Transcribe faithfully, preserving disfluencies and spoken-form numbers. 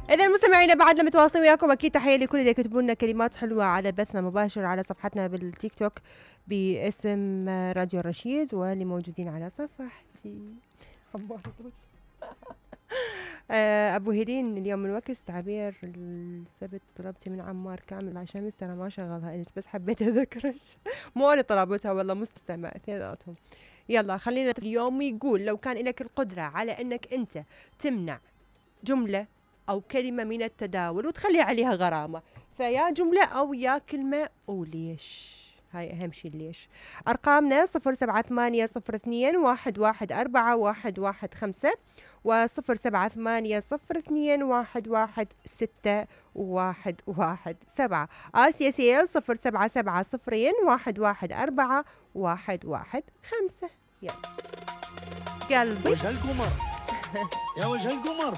إذا مستمعينا بعدنا متواصلين وياكم، أكيد تحية لكل اللي يكتبوا لنا كلمات حلوة على بثنا مباشر على صفحتنا بالتيك توك باسم راديو الرشيد، واللي موجودين على صفحتي أبو هيلين اليوم من وكس تعبير السبت طلبتي من عمار كامل عشان ترى ما شغلها انت، بس حبيت اذكرش. مو انا طلبتها والله، مستمع اثنيناتهم. يلا خلينا اليوم يقول لو كان لك القدرة على انك انت تمنع جملة او كلمة من التداول وتخلي عليها غرامة، فيا جملة او يا كلمة، وليش؟ هاي اهم شي ليش. ارقامنا صفر سبعة ثمانية صفر اثنين واحد واحد اربعة واحد واحد خمسة وصفر سبعة ثمانية صفر اثنين واحد واحد ستة واحد واحد سبعة. آسيا سيل صفر سبعة سبعة صفرين واحد واحد أربعة واحد واحد خمسة. يلا قلبي وجه القمر يا وجه القمر